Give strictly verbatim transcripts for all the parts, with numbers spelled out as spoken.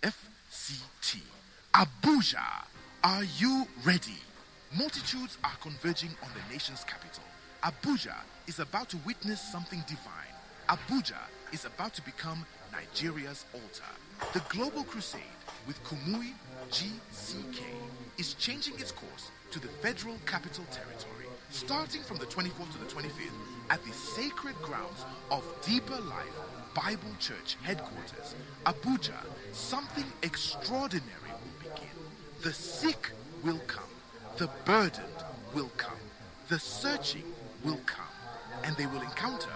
F C T. Abuja, are you ready? Multitudes are converging on the nation's capital. Abuja is about to witness something divine. Abuja is about to become Nigeria's altar. The Global Crusade with Kumuyi G C K is changing its course to the Federal Capital Territory, starting from the twenty-fourth to the twenty-fifth at the sacred grounds of Deeper Life Bible Church headquarters, Abuja. Something extraordinary will begin. The sick will come, the burdened will come, the searching will come, and they will encounter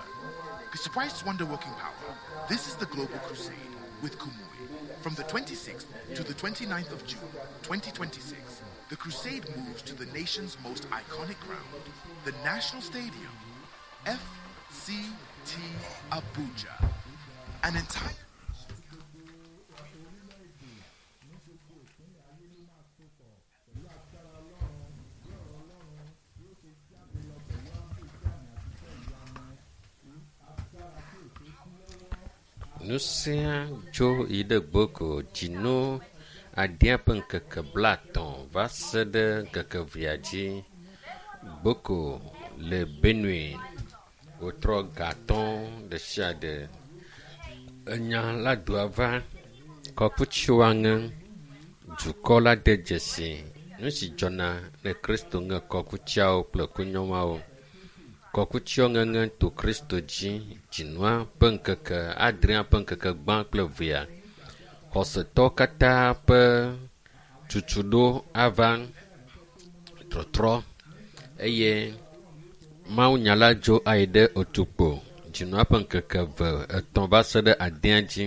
Christ's wonder-working power. This is the Global Crusade with Kumuyi. From the twenty-sixth to the twenty-ninth of June, twenty twenty-six, the crusade moves to the nation's most iconic ground, the National Stadium, F C T Abuja. An entire... Ŋusẽa dzo yi ɖe gboko dzinu adea ƒe ŋkeke blatɔ̃ va se ɖe ŋkeke evea dzi. Gboko le Benue wòtrɔ gatɔ̃ ɖe sia ɖe. Enya la doa va kɔkutsiwa ŋe. Dukɔ la de dzesi nu si dzɔna ne Kristo ŋe kɔkutsiawo kple kunyɔmawo. Kɔkutsiwo ŋeŋe to Kristo dzi dzinua ƒe ŋkeke adrea ƒe ŋkeke gbã kple evea. Xɔsetɔwo katã ƒe tutuɖo ava trɔtrɔ eye mawunya la dzo ayi ɖe otukpo dzinua ƒe ŋkeke eve etɔ̃ va se ɖe adea dzi.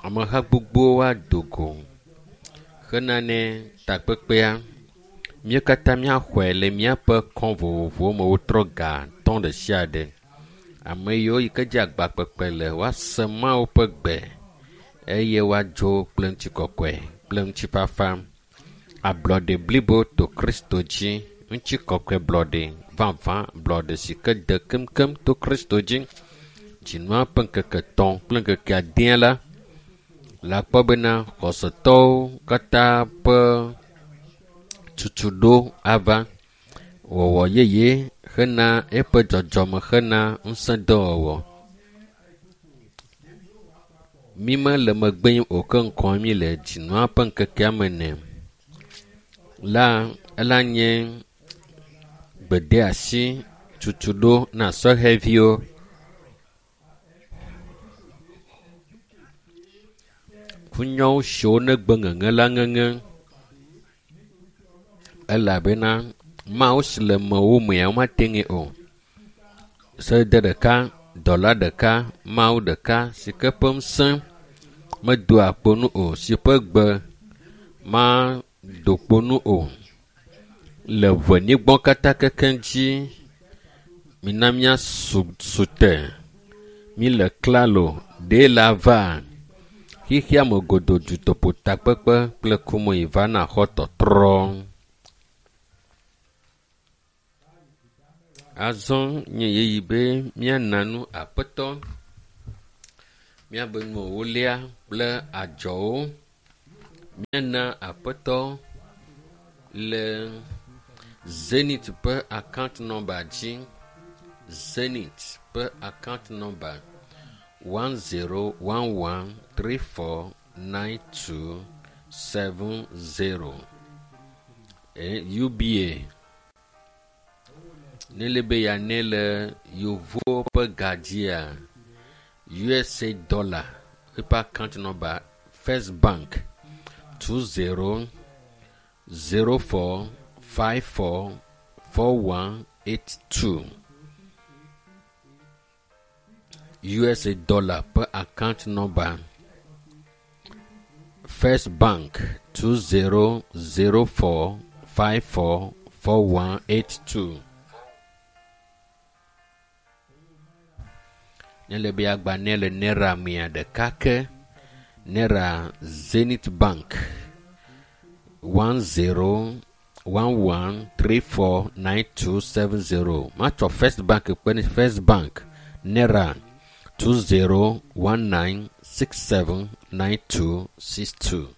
Ameha gbogbowo ado go hena ne takpekpea. Mía katã míaxɔe le míaƒe kɔ vovovowo me wotrɔ ga tɔ̃ ɖe sia ɖe. Ame yiwo yi ke dze agbakpekpe le woase Mawu ƒe gbe eye woadzo kple ŋutikɔkɔe kple ŋutifafa. Ablɔɖe blibo to Kristo dzi, ŋutikɔkɔe blɔɖe vavã blɔɖe si ke de keŋkeŋ to Kristo dzi. Dzinua ƒe ŋkeke tɔ̃ kple ŋkeke adea la, le akpɔ bena xɔsetɔwo katã ƒe tutuɖo ava wɔwɔ yeye hena eƒe dzɔdzɔme hena ŋusẽdɔwɔwɔ. Mi mele megbe yim o ke ŋkɔ mi le dzinua ƒe ŋkekea me ne. La ela nye gbedeasi tutuɖo na sɔhɛviwo. Kunyɔwo siwo negbe ŋeŋe la ŋeŋe. Elabena Mawu si le mewò mea womate ŋui o. Sedede ɖeka, dɔla ɖeka, Mawu ɖeka si ke ƒe ŋusẽ medoa kpo nu o, si ƒe gbe mado kpo nu o. Le ʋenigbɔ katã kekeŋ dzi, mina míasu su te. Mi le klalo ɖe la va. Xexea me godo dutoƒo takpekpe kple kumoyi va na xɔ tɔtrɔ. Azɔ nye yeyi be míana nu aƒetɔ, míabe nu ewolia kple adzɔwo. Míana aƒetɔ le Zenith ƒe account number dzi. Zenith ƒe account number one zero one one three four nine two seven zero. Eh, U B A. Ne le be ya ne le yevuwo ƒe ga dzia, U S A dollar eƒe account number First Bank two zero zero four five four four one eight two. U S A dollar ƒe account number First Bank two zero zero four five four four one eight two. Ne le be agba ne le Naira mea ɖeka ke, Naira Zenith Bank one zero one one three four nine two seven zero. Matsɔ First Bank kpe ne First Bank Naira two zero one nine six seven nine two six two.